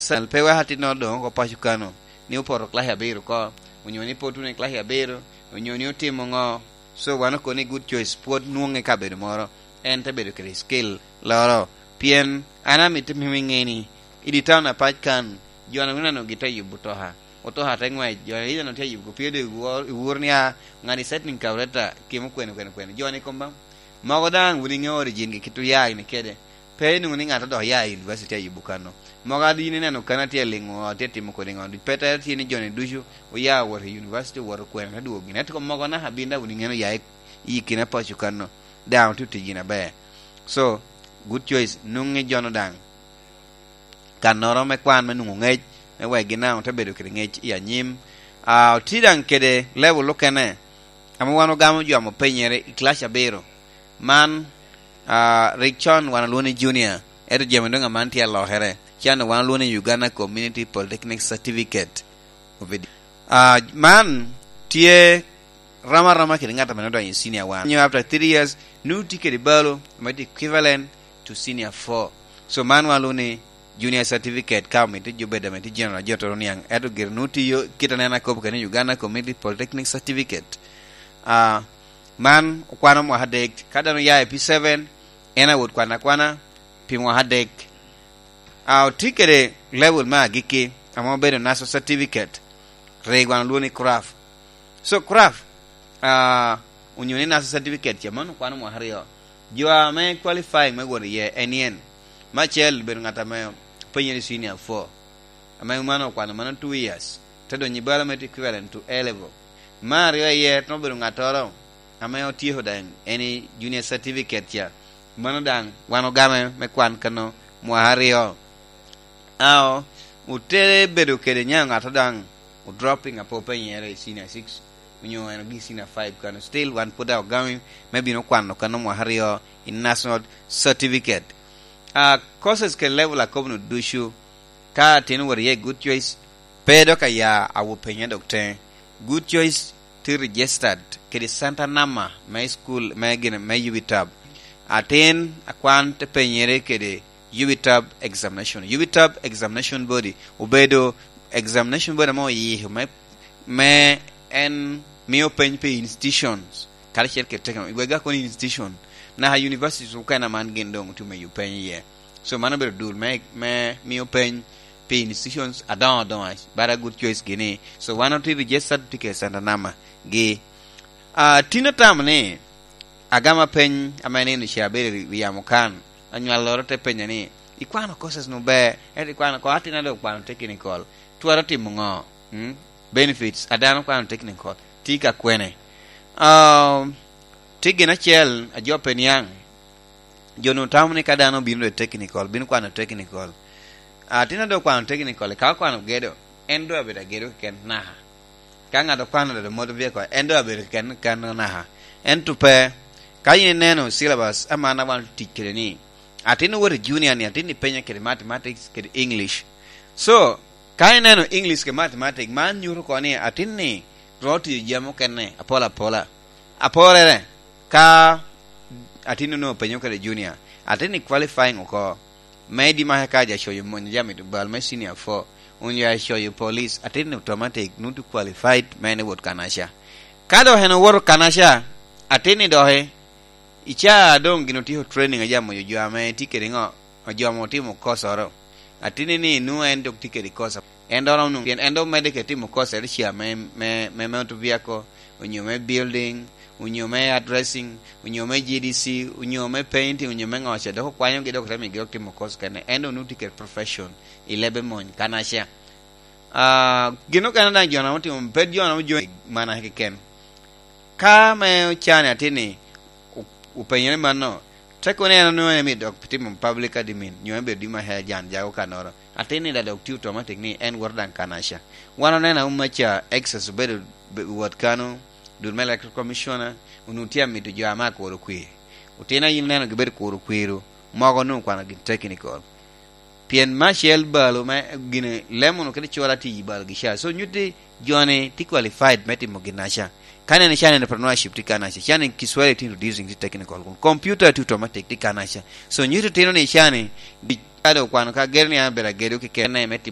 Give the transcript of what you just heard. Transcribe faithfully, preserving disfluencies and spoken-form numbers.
Sal pe weko atinno doŋ oko paco kano, ni opoto class abiro oko, onyo ni pe otuno i class abiro, onyo ni otimo ŋo. So, wan okobo ni good choice pwod nwoŋe i kabedo moro, en te bedo kede skill loro. Pien an amito mio iŋe ni, i di town apac kan, jo-nu ineno gitye yubo otoka. Otoka te ŋwec, jo ineno tye yubo, pien doŋ iwor-, iwor ni, "Ah, ŋat i setting kaureta, kemo kwene, kwene, kwene." Jo-ni kom ba. Mogo daŋ wun iŋeo origin-gi kit oya gini kede. Pe inwoŋo ni ŋat odok ya i university a yubo kano. Mogo a yin ineno kano atye aliŋo, atye timo kodi ŋo. Pe tere tye ni jo-ni ducu oya owoto i university, owoto kwene, te dwogo gini. Ento mogo naka bin daŋ wun iŋeo oya i, i kine paco kano. Daŋ otye tic gin aber. So, good choice, nwoŋi jo-nu daŋ kannoro me kwan me nwoŋo ŋec, me wek gin daŋ ote bedo kede ŋec i anyim. Ah, otye daŋ kede level okene, ame wan ogamo jo ame openyere i class abiro. Man, ah, rik con wan olwongo ni junior, ento jami doŋ aman tye alokere. Can wan olwongo ni Uganda Community Polytechnic Certificate. Ah, man tye rom aroma kede ŋat ame odonyo i senior one. Nyo after three years, nwoŋo tye kede balo, ame tye equivalent to senior four. So, man wan lwongo ni junior certificate, ka omito jo bedo ame tye general, jo toro niaŋ. Ento gire nwoŋo tiyo kit anena akobo kede ni Uganda Community Polytechnic Certificate. Ah, man okwano mwaka adek. Ka dano oya i P seven, en awot kwan akwana pi mwaka adek. Ah, otye kede level me agikki, ame obedo national certificate. Rik wan olwongo ni craft. So, craft, ah, onyo ni national certificate ca, mano okwano mwaka aryo. Jo ame qualifying me wot iye en yen, me acel bedo ŋat ame penyere senior four, ame mano okwano mano two years, te donyo i balo me equivalent to A level. Me aryo iye, te obedo ŋattoro ame otyeko daŋ en i junior certificate ca, mano daŋ wan ogame me kwan kano mwaka aryo. Ao, ote bedo kede nyaŋ ŋato daŋ o dropping ape openyere i senior six, onyo en ogik senior five kano. Still, wan pwod daŋ ogami me bino kwano kano mwaka aryo i national certificate. Ah, courses kede level akobo-nu ducu, ka atin owot iye i Good Choice, pe dok aya awo penya dok teŋe. Good Choice tye registered kede center number me school me gin me U B tab. Atin akwan te penyere kede U B tab examination. U B tab examination body obedo examination body ame oyiko me, me en mio peny pi institutions, karacel kede technical, wek ga kono institution, naka universities okene man gin doŋ otye me yubo peny iye. So, mano obedo dul me, me mio peny pi institutions adoŋo adoŋa, bara Good Choice gini. So, wan otye registered tye kede center number gi. Ah, tin atamo ni, agama peny ame nino ca abedo i yamo kan, anywalloro te penya ni, "Ikwano courses nu ber, ento ikwano ko atina dok okwano technical, twero timo ŋo?" Mm? Benefits a dano kwano technical tye ka kwene? Um, tye gin acel a jo pe niaŋ. Jo-nu tamo ni ka dano obino i technical, bino kwano technical. Atin a dok kwano technical, ka okwano gedo, en doŋ abedo agedo keken naka. Ka ŋat okwano dodo motor vehicle, en doŋ abedo keken kano naka. Ento pe, ka in ineno syllabus, aman a wan tic kede ni, atin owoto i junior ni, atin ipenye kede mathematics, kede English. So, ka ineno English kede mathematics, man nyuto oko ni atin ni ro tiyo jami okene apol apola. Aporere, ka atin onwoŋo openyo kede junior, atin ni qualifying oko. Me di make ka ja coyo mony ja mito bal me senior four, onyo ja coyo police, atin ni automatic nwoŋo tye qualified me en ewot kanaca. Ka dok en owoto kanaca, atin ni doki, i ca a doŋ gin otyeko training a ja moyo jo ame tye kede ŋo, jo ame otimo kosoro. Atin ni nwoŋo en dok tye kede kosa. En dok romo nwoŋo, pien en dok medde kede timo kosa eri ca me, me, me motor vehicle, onyo me building, onyo me addressing, onyo me G D C, onyo me painting, onyo me ŋo ca, dok okwanyogi, dok te miyogi dok timo kosa kene. En dok nwoŋo tye kede profession i lebe mony kanaca. Ah, gin okene daŋ jo na otimo, pe jo na ojo mana keken. Ka me ocani atin ni, o-, openyere mano, te kono en onwoŋo en emi dok timo public admin, nyo en bedo di ma hea jan jago kanoro. Atin ni da dok tye automatic ni en woto daŋ kanaca. Wan oneno auma ca, Excess obedo be-, wot kano, dul me Electoral Commissioner, onwoŋo tye amito jo ame akuro kwir. Otino a yin ineno gibedo kuro kwir-ru, mogo onwoŋo kwano gin technical. Pien me acel balo me gine, lemo-nu kede cura tye i balogi ca. So, nyutti jo-ni tye qualified me timo ginaca. Ka neno can entrepreneurship tye kanaca, can Kiswahili tye introducing tye technical kun. Computer tye automatic tye kanaca. So, nyutti tino ni can, di-, ka dong okwano ka gedo ni an abedo agedo keken me timo